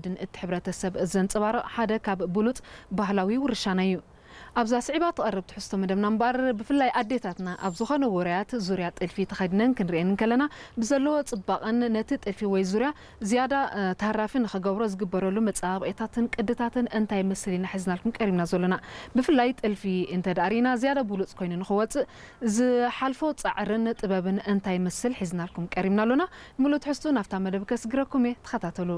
ድን እቲ ሕብረተሰብ ዘንጸባርቕ ሓደ ካብ ብሉጽ ባህላዊ ውርሻና እዩ። ኣብዛ ስዒባ ትቐርብ ትሕዝቶ መደብና እምበኣር፣ ብፍላይ ኣዴታትና ኣብ ዝኾነ ውራያት ዙርያ ጥልፊ ተኸዲነን ክንሪኤን እንከለና፣ ብዘለዎ ጽባቐን ነቲ ጥልፊ ወይ ዙርያ ዝያዳ፣ እ፣ ተሃራፊ ንኽገብሮ ዝግበረሉ መጸባበቒታትን ቅድታትን እንታይ ይመስል ኢና ሒዝናልኩም ቀሪብና ዘሎና። ብፍላይ ጥልፊ እንተ ደኣ ርኢና ዝያዳ ብሉጽ ኮይኑ ንኽወጽእ ዝሓልፎ ጻዕርን ጥበብን እንታይ ይመስል ሒዝናልኩም ቀሪብና ኣሎና። ምሉእ ትሕዝቱ ናብታ መደብ ከስግረኩም እየ፣ ተኸታተሉ።